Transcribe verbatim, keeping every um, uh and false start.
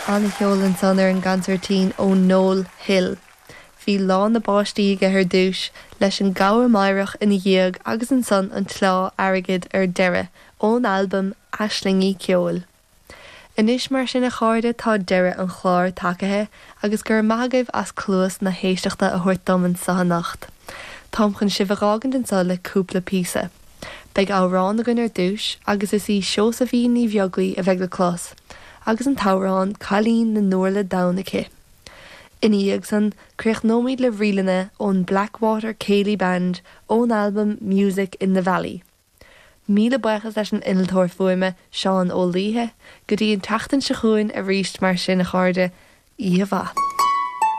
An-cheol ansan ar an gcansairtín ó Noel Hill. Bhí lá na bpáistí aige ar dtús leis an gcabhair meidhreach ina dhiaidh agus ansan an tsleá airgid ar deireadh ón albam Aislingí Ceoil. Anois mar sin a chairde tá deireadh an chláir tagaithe agus gur maithagaibh as cluas na héisteachta a thabhairt dom anseo anocht. Táim chun sibh a fhágaint anseo le cúpla píosa. Beidh amhrán againn ar dtús agus is í Seosaimhín Ní Bheaglaoich a bheidh le clos, agus an t-amhrán Cailín na nUrla Donn aici. Ina dhiaidh san críochnóimid le ríleanna ón Blackwater Céilí Band ón albam Music in the Valley. Míle buíochas leis an innealtóir fuaime Seán Ó Laoithe, go dtí an tseachtain seo chugainn arís mar sin a chairde, oíche mhaith.